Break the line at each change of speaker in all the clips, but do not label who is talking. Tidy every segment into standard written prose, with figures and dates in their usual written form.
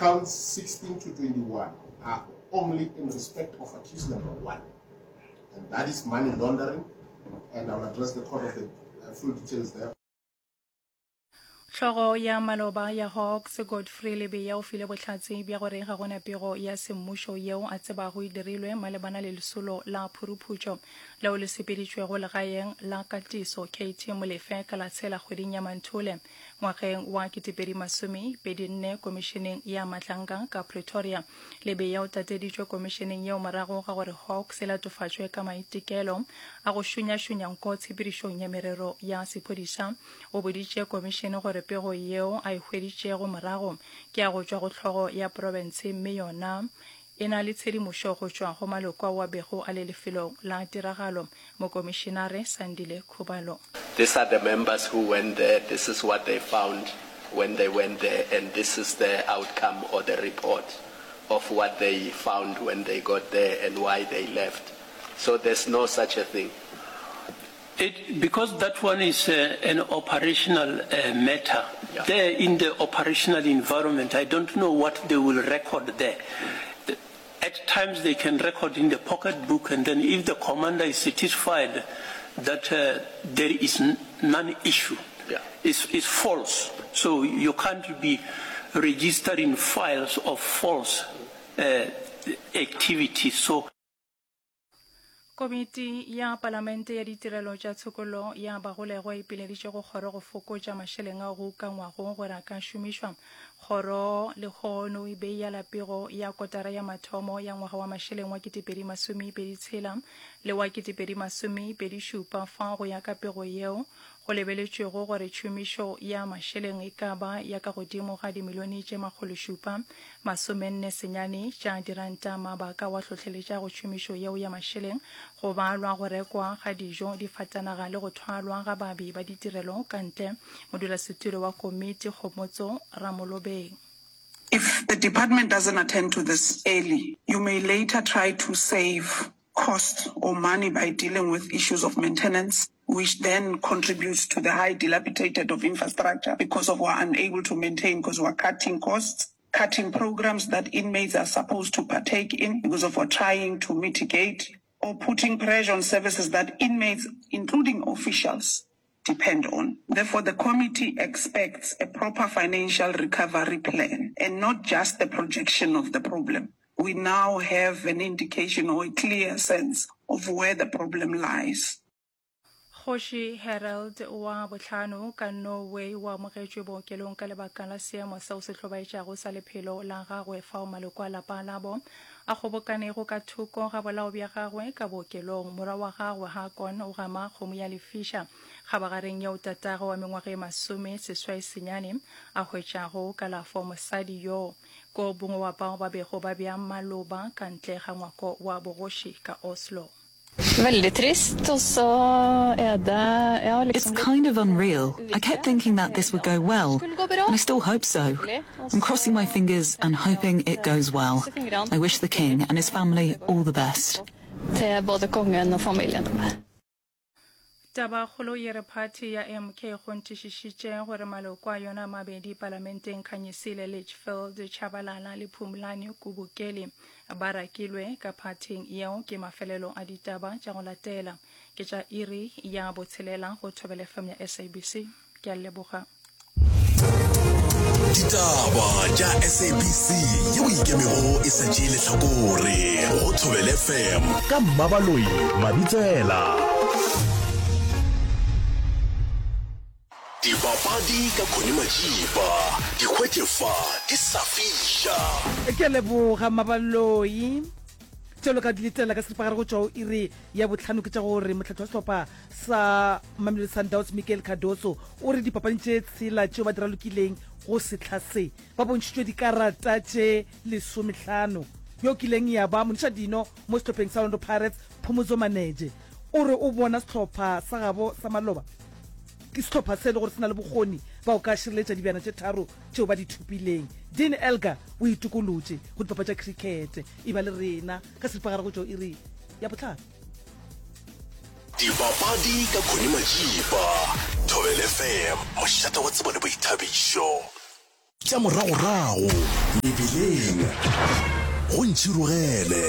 Counts 16 to 21 are only in respect of accused number one, and that is money laundering, and I'll address the court of the uh, full details there.
Hlogo ya maloba ya Hawks, Godfrey Lebeya o file bohlatse bja gore ga go na pego ya semmušo yeo a tsebago e dirilwe malebana le lesolo la phuruphutšo leo le sepeditšwego legaeng la katiso KT Molefe ka la tshela kgweding ya Manthole Ngwageng wa 2024 Komišeneng ya Matlanka ka Pretoria, Lebeya o tateditšwe komišeneng yeo morago ga gore Hawks e latofatšwe ka maitekelo a go šunyašunya nko tshepedišong ya merero ya sephodisa. O boditše komišene gore pego yeo a e hweditšego morago ke ya go tšwa go hlogo ya profense mme yona e na le tshedimošo go tšwa go maloko ao a bego a le lefelong la tiragalo, Mokomišenare Sandile Khubalo.
These are the members who went there, this is what they found when they went there and this is the outcome or the report of what they found when they got there and why they left. So there's no such a thing.
It, because that one is uh, an operational uh, matter.
Yeah.
There in the operational environment, I don't know what they will record there. The, at times they can record in the pocketbook, and then if the commander is satisfied that uh, there is none issue,
yeah.
it's, it's false. So you can't be registering files of false uh, activities. So
Komiti ya Palamente ya Ditirelo tša Tshokollo ya Bagolegwa e ipileditše go kgoro go fokotša mašeleng ao go ukangwago gore a ka šomišwa. Kgoro lehono e beiyala pego ya kotara ya mathomo ya ngwaga wa mašeleng wa 2026 le wa 2027 fao go ya ka pego yeo go lebeletšwego gore tšhomišo ya mašeleng e ka ba ya ka godimo ga dimilione tše makgološupa masomenne senyane tša diranta. Mabaka wa hlohleletša go tšhomišo yeo ya mašeleng go balwa go rekwa ga dijo, difatanaga le go thwalwa ga baabi ba ditirelo ka ntle. Modulasetulo wa komiti Kgomotso Ramolobeng.
If the department doesn't attend to this early, you may later try to save cost or money by dealing with issues of maintenance, which then contributes to the high dilapidated of infrastructure because of we're unable to maintain because we're cutting costs, cutting programs that inmates are supposed to partake in because of we're trying to mitigate or putting pressure on services that inmates, including officials, depend on. Therefore, the committee expects a proper financial recovery plan and not just the projection of the problem. We now have an indication or a clear sense of where the problem lies.
Kgoši Harald wa bohlano ka Norway o amogetšwe bookelong ka lebaka la seemo seo se hlobaetšago sa lephelo la gagwe fao maloko a lapa labo a kgobokanego ka thoko ga bolao bja gagwe ka bookelong. Morwa wa gagwe Haakon o gama kgomo ya lefiša kgabagareng yeo tatagwe wa mengwaga e masomeseswai senyane a hwetšago kalafo. Mosadi yoo ke o mongwe wa bao ba bego ba bea maloba ka ntle ga ngwako wa bogoši ka Oslo.
Veldig trist, og så er det ja
It's
liksom litt
kind of unreal. I kept thinking that this would go well,
Skulle gå bra.
and I still hope so.
Hyggelig. Og
I'm
så
crossing my fingers and
tenker jeg
hoping
at
it goes well.
krysser fingrene
I wish the king and his family all the best.
til både kongen og familien.
Tabakgolo ye re phathi ya MK e kgonthišišitše gore maloko a yona a mabedi palamenteng Khanyisile Litchfield Tshabalala le Phumlani Kubukeli ba rakilwe ka phathing yeo ke mafelelo a ditaba tša go latela ke tša iri ya botshelela go Thobela FM ya SABC. Ke a leboga.
Ditaba tša SABC yeo e ikemego e sa tšee lehlakore go Thobela FM
ka Mmabaloi Mabitsela.
Dipapadi ka Connie Majiba, di hwetše fa di sa fiša.
Ke a leboga Mmabaloi. Tšeo le ka di letela ka seripagare go tšwa go iri ya bohlano ke tša gore mohlahli wa sehlopha sa Mamelodi Sundowns Miguel Cardoso o re dipapading tše tshela tšeo ba di ralokileng go sehla se ba bontšhitšwe dikarata tše lesomehlano. Yo kileng ya ba monišadino mo sehlopheng sa Orlando Pirates Phumudzo Maneje o re o bona sehlopha sa gabo sa maloba ke sehlopha se e le gore se na le bokgoni ba go ka šireletša dibjana tše tharo tšeo ba di thopileng. Dean Elgar o itokolotše go dipapadi tša krikete. E ba le rena ka seripagare go tšwa iri ya bohlano.
Dipapadi ka Connie Majiba, Thobela FM, mošate wa tsebo le boithabišo. Tša moragorago mebileng go ntšhirogele.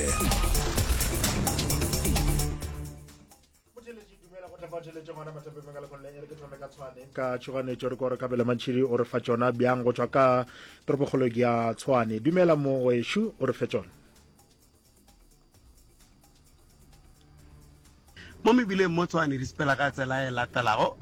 Motheeletši dumela go tla theletše gona mathapeng ka lekgone e re ke thome ka tshwane ka tšhoganetšo re kore kabelo mantšhidi o re fa tšona bjang go tšwa ka toropokgolong ya tshwane dumela mo wešo o re fe tšona
Mo mebileng mo Tshwane di sepela ka tsela e latelago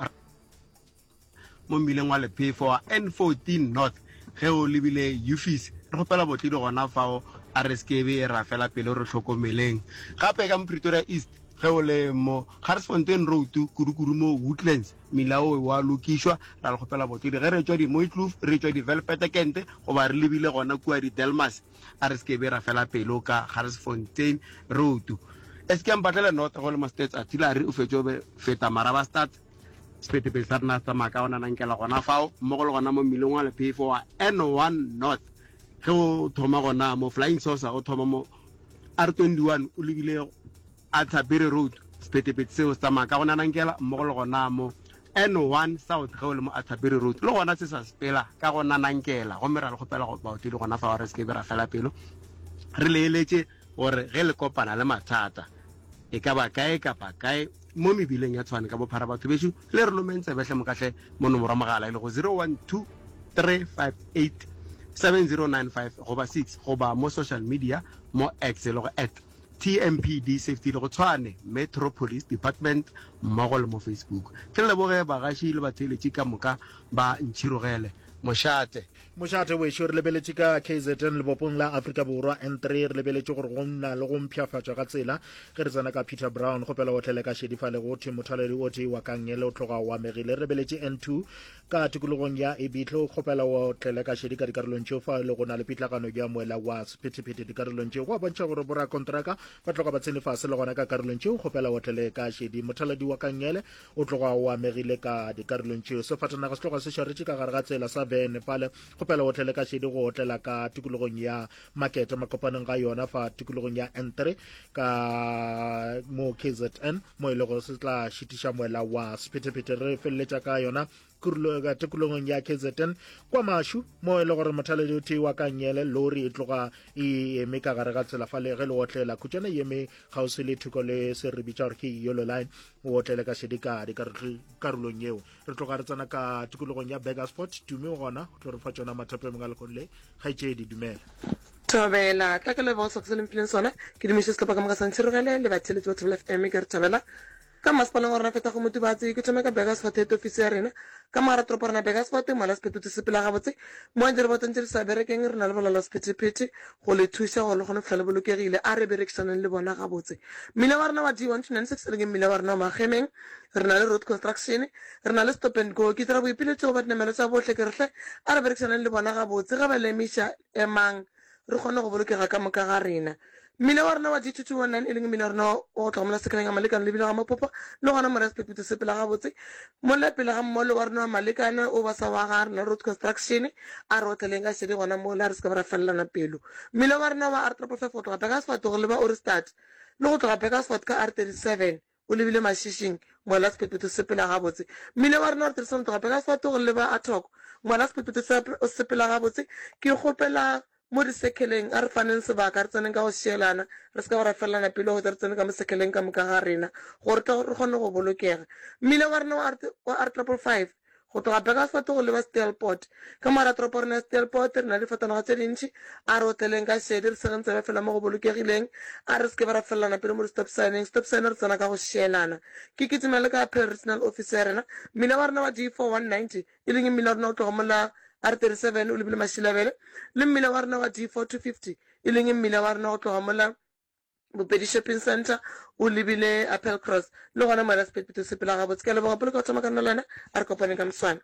mo mmileng wa lephefo wa N14 North ge o lebile Ufis re kgopela botledi gona fao a re sekebe ra fela pelo re hlokomeleng gape ka mo Pretoria East ge o le mo Garsfontein Road kudu-kudu mo Woodlands mmila o wa lokišwa ra le kgopela botledi ge re tšwa di-Mooikloof re tšwa di-Velpetekente goba re lebile gona kua di-Delmas A re se ke be ra fela pelo ka Garsfontein Road. SK Mpatlele North go le mo States Artillery o fetše o be feta Marabastad. Sephethephethe sa rena se tsamaya ka go nanankela gona fao mmogo le gona mo mmileng wa lephefo wa N1 North. Ge o thoma gona mo Flying Saucer o thoma mo R21 o lebile Arthur Road, sephethephethe seo se tsamaya ka go nanankela mmogo le gona mo N1 South ge o le mo Arthur Road le gona se sa sepela ka go nanankela gomme ra le kgopela go baotledi gona fao re se ke be ra fela pelo re le eletše gore ge le kopana le mathata e ka ba kae kapa kae mo mebileng ya Tshwane ka bophara batho bešo le re lomeng tsebe hle mokahle mo nomoro ya mogala e lego 012 358 7095 goba 6 goba mo social media mo X e lego at TMPD Safety le go Tshwane Metro Police Department mmogo le mo Facebook. Ke leboge bagaši le batheeletši ka moka ba Ntšhirogele. Mošate.
Mošate wešo, re lebeletše ka KZN lebopong la Afrika Borwa N3, re lebeletše gore go na le go mpshafatšwa ga tsela ge re tsena ka Peter Brown. Kgopela o tlele ka šedi fale go thwe mothaladi o tee wa Kangele o tloga o amegile. Re lebeletše N2 Ka tikologong ya Ebitlo, kgopela o tlele ka šedi ka dikarolong tšeo fa e le go na le pitlagano ya moela wa sephethephethe dikarolong tšeo. Go a bontšha gore borakontraka ba tloga ba tsene fase le gona ka karolong tšeo, kgopela o tlele ka šedi. Mothaladi wa Kangele o tloga o amegile ka dikarolong tšeo. Sefatanaga se tloga se šaretše ka gare ga tsela sa vene fale, kgopela o tlele ka šedi go otlela ka tikologong ya Makete makopanong ga yona fa tikologong ya N3 ka mo KZN mo e lego se tla šitiša moela wa sephethephethe. Re feleletša ka yona tikologong ya KZN kwa Mashu mo e le gore mothaledi o tee wa Kangele lori e tloga e eme ka gare ga tsela fale ge le otlela khutšana e eme kgauswi le thoko le se re bitša gore ke yellow line o otlele ka šedi ka dikarolong yeo. Re tloga re tsena ka tikologong ya Burgersfort Tumi o gona o tlo re fa tšona mathapo a mongwe a lekgono le. Kgaetšedi dumela.
Thobela, tla ke leboge sehlopha se le mphileng sona. Ke dumiše sehlopha ka moka sa Ntshirogele le batheeletši ba Thobela FM. Ke re thobela ka masepaleng wa rena Fetago Motubatse. Ke thome ka Burgersfort head office ya rena ka mogara toropo rena Burgersfort. Mola sephethephethe se sepela gabotse mo dirobotong tše di sa berekeng re na le bolala sephethephethe go le thuša gore le kgone go fihla le bolokegile. A re berekišaneng le bona gabotse. Mmila wa rena wa D1296 e leng mmila wa rena wa Magemeng Re na le road construction, re na le stop and go. Ke dira boipiletšo go ba dinamelwa tša bohle ke re hle a re berekišaneng le bona gabotse. Ge ba le emiša, emang re kgone go bolokega ka moka ga rena. Mmila wa rena wa G2219 e leng mmila wa rena wa go tloga mola sekaleng ga Malekane lebile ga Mapopa le gona Moraya Sephethephethe sepela gabotse. Mola pele ga mmolo wa rena wa Malekane o ba sa wa ga rena road construction a re otleleng ka šedi gona mola re se ka ba ra felelana pelo. Mmila wa rena wa R555 go tloga Burgersfort go leba Ohrigstad le go tloga Burgersfort ka R37 O lebile Mašišing, mola sephethephethe se sepela gabotse. Mmila wa rena wa re tloga Burgersfort go leba Athoko, mola sephethephethe se sepela gabotse. Ke kgopela mo disekheleng, a re faneng sebaka, re tseneng ka go šielana, re se ka ba ra felelana pelo go hwetša re tsene ka mo sekheleng ka moka ga rena, gore tle re kgone go bolokega. Mmila wa rena wa R triple five, Go tloga Burgersfort go leba Steelpoort. Ka mo gare ga toropo rena ya Steelpoort re na le difatanaga tše dintši. A re otleleng ka šedi, re segeng tsebe fela mo go bolokegileng. A re se ke be ra felelana pele mo di-stop sign-eng. Stop sign re tsena ka go šielana. Ke kitima le ka Appeal Regional Office ya rena. Mmila wa rena wa D4190, e leng mmila wa rena o tloga mola R37 o lebile Mashilabele, le mmila wa rena wa D4250, e leng mmila wa rena go tloga mola Bopedi Shopping Centre o lebile Appelcross le gona moela sephethephethe sepela gabotse. Ke a leboga Poloko go thoma ka nna le wena a re kopaneng ka moswane.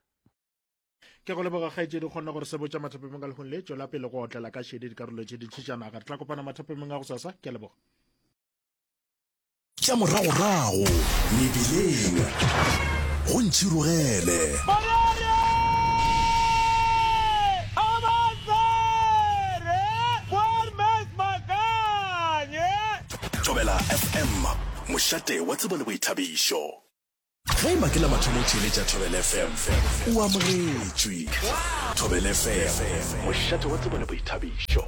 Ke go leboga kgaetšedi kgonne gore se botša mathapemeng ka lehung le tšwela pele go otlela ka šedi dikarolo tše dintši tša naga. Re tla kopana mathapemeng a gosasa. Ke a leboga.
Tša moragorago mebileng go ntšhirogele. Thobela FM, mošate wa tsebo le boithabišo. Ge e ba ke la mathomo o theeletša Thobela FM, o amogetšwe. Thobela FM, mošate wa tsebo le boithabišo.